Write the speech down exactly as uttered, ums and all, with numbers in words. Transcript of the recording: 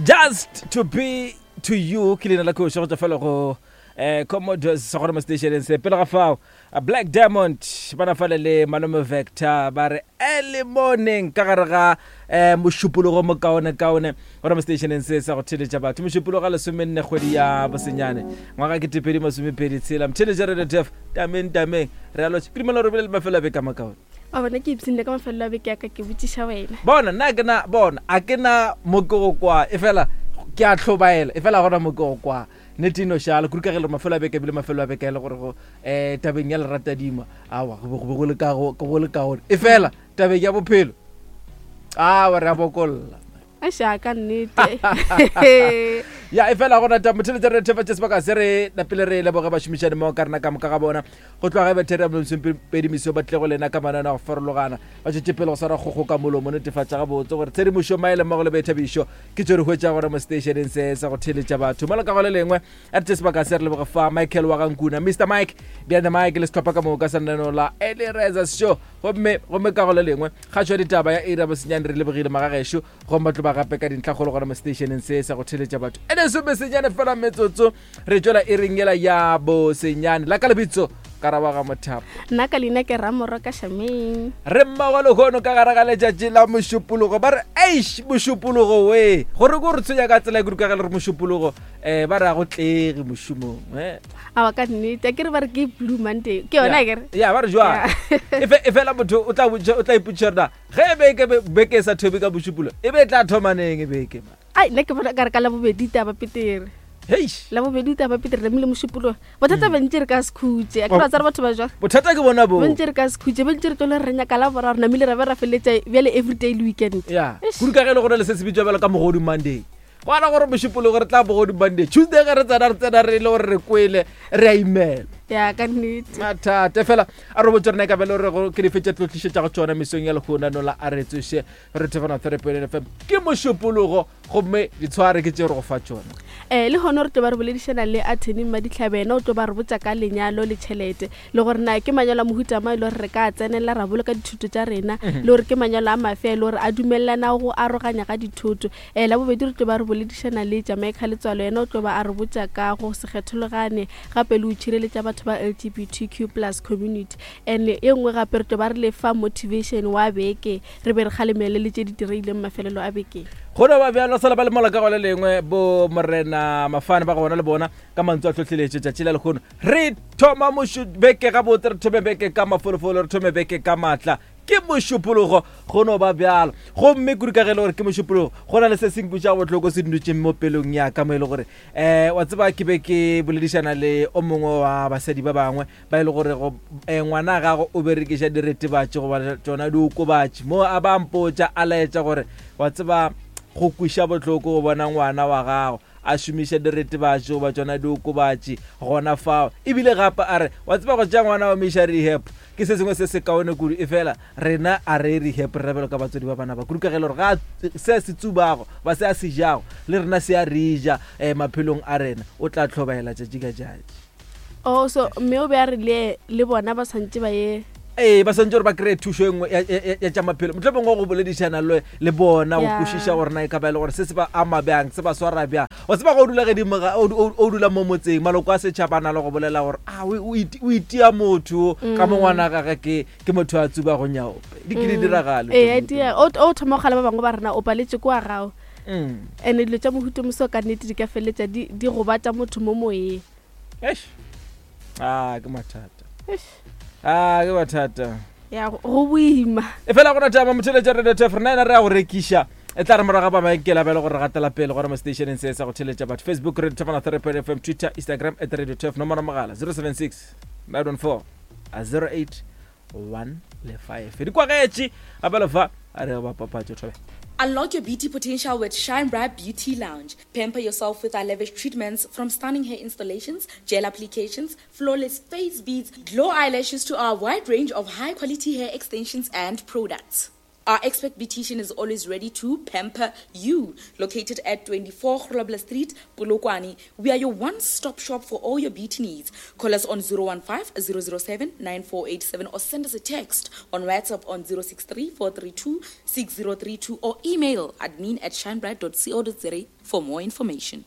Just to be to you ke leina la koša go tšwa fela go um Commodores sa gona mo stationeng se. Pele ga fao, Black Diamond ba na fale le Malome Vector ba re early morning ka gare ga um mošupologo mokaonekaone gona mo stationeng se sa go theletša batho. Mošupologo ga lesomenne kgwedi ya bosenyane ngwaga ketepedi masomepedi tshela. Mtheletša Radio Tef tameng tameng re a lotšha. Ke dumela gore bile le mafelo a beke a makaone. A bona ke ipshinne ka mafelelo a beke ya ka, ke botšiša wena. Bona nna ke na bona a ke na mo ke go kwa e fela ke a hlobaela e fela gona mo ke go kwa nnete e no šala kudu ka ge le mafelo a beke ebile mafelo a beke e le gore go um tabeng ya leratadima awa go be go be go le ka go go le kaone e fela tabeng ya bophelo awa re a bokolla. Aša ka nnete. Ya e fela gona ta motheletša re thefa tše sebaka se re napile re leboge bašomišani mo ka rena ka moka ga bona go tloga ge betheri ya masomepedi meso ba tle go lena ka manane a go farologana ba tšwetše pele go swara kgogo ka molomo netefatša gabotse gore tshedimošo maele mmogo le boithabišo ke tšo re hwetša gona mo stationeng se sa go theletša batho mola ka go le lengwe a re tše sebaka se re leboge fa Michael wa Gankuna, Mister Mike behind the mic le sehlopha ka moka sa lenaneo la Early Risers Show. Gomme gomme ka go le lengwe kgatšo ya ditaba ya iri ya bosenyane re lebogile magagešo gomme ba tlo ba gape ka dintlhakgolo gona mo stationeng se sa go theletša batho e lesome senyane fela metsotso re tšwela iring yela ya bosenyane la ka lebitso Karabo ga Mothapo. Nna ka leina ke Ramoro ka Shameng. Re mmago lehono ka gare ga letšatši la mošupologo ba re eish mošupologo we gore ko re tshwenya ka tsela e kudu ka ge le re mošupologo um ba re a go tlege mošomong eh. Awa ka nnete a ke re ba re ke Blue Monday ke yona kere. Ya ba re jwang e fela motho o tla o tla ipotšiša gore na ge beke beke e sa thome ka mošupologo e be e tla thoma neng e beke ma. Ai nna ke bona ka re ka Labobedi taba petere. Heish. Labobedi taba petere namile mošupologo bothata bentse re ka se khutše a ke ra tsare batho ba jwang. Bothata ke bona bo. Bentse re ka se khutše bentse re tlole re nyaka la boraro namile ra be ra feletša bjale everyday le weekend. Ya kudu ka ge e le gore le se se bitswa bjalo ka mogodu Monday. Go ana gore mošupologo re tla bogodu Monday Tuesday ge re tsena re tsena re le gore re kwele re a imela. Ya ka nnete. Mathata fela a re botse rena e ka be le gore go ke dife tše tlo tlišetša go tšona mesong ya lehono la a re tsoše re thefana three point F M ke mošupologo gomme ditshware ke tše re go fa tšona. Eh le hono re tlo ba re boledišana le attorney Madihlabe yena o tlo ba re botša ka lenyalo le tšhelete le gore na ke manyalo a mohuta mang e le gore re ka tsenela ra boloka dithuto tša rena le gore ke manyalo a mafe e le gore a dumelelana go aroganya ga dithoto. Eh la bobedi re tlo ba re boledišana le Jamaica Letswalo yena o tlo ba a re botša ka go se kgethologane gape le go tšhireletša batho ba L G B T Q plus community. And e nngwe gape re tlo ba re lefa motivation wa beke re be re kgalemele le tše di direileng mafelelo a beke. Go no ba bjalo sala ba le mola ka go le lengwe bo morena Mafane ba go bona le bona ka mantswe a tlhohleletšo tšatši la lehono re thoma mošu beke gabotse re thome beke ka mafolofolo re thome beke ka maatla ke mošupologo go no ba bjalo gomme kudu ka ge e le gore ke mošupologo go na le se se nkweša bohloko se dutšeng mo pelong ya ka mo e le gore um wa tseba ke be ke boledišana le o mongwe wa basadi ba bangwe ba e le gore go ngwana gago o berekiša diretebatši goba tšona diokobatši mo a ba mpotša a laetša gore wa tseba go kweša bohloko go bona ngwana wa gago a šomiša diretebatši goba tšona diokobatši gona fao ebile gape a re wa tseba go tšea ngwana wa mo iša rehab ke se sengwe se se kaone kudu e fela rena a re rehab re bjalo ka batswadi ba bana ba kudu ka ge e le gore ga se se tsubago ba se a se jago le rena se a re ja um maphelong a rena o tla hlobaela tšatši ka tšatši. Oh so mme o be a re le le bona ba swantše ba ye ee ba swantše gore ba kry-e thušo e nngwe ya tša maphelo mohlomongwe go boledišana le le bona go kwešiša gore na e ka ba e le gore se se ba ama bjang se ba swara bjang wa tseba go o dula gedimo ga o dula mo motseng maloko a setšhaba a na le go bolela gore a o itia motho ka mo ngwana gage ke ke motho a tsuba go nyaope di ke di diragale. Ee o thoma go kgala ba bangwe ba rena o paletše kwa gago and dilo tša mohuta moso ka nnete di ka feleletša di gobatša motho mo moyeng. Eish ah ke mathata. Ah ke mathata. Ya go boima. E fela go rata motheletša Radio Tef rena ena re a go rekiša e tla re morago ba mabenkele a bjale gore re gatela pele gore mo stationeng se sa go theletša batho Facebook Radio Tef three point F M Twitter Instagram at Radio Tef nomoro mogala zero seven six nine one four zero eight one le five di kwagetše gape le fa a re ba papatšo thobe. Unlock your beauty potential with Shine Bright Beauty Lounge. Pamper yourself with our lavish treatments, from stunning hair installations, gel applications, flawless face beads, glow eyelashes to our wide range of high-quality hair extensions and products. Our expert beautician is always ready to pamper you. Located at twenty-four Grobler Street, Polokwane, we are your one-stop shop for all your beauty needs. Call us on zero one five, zero zero seven, nine four eight seven or send us a text on WhatsApp on zero six three, four three two, six zero three two or email admin at shinebright dot co dot za for more information.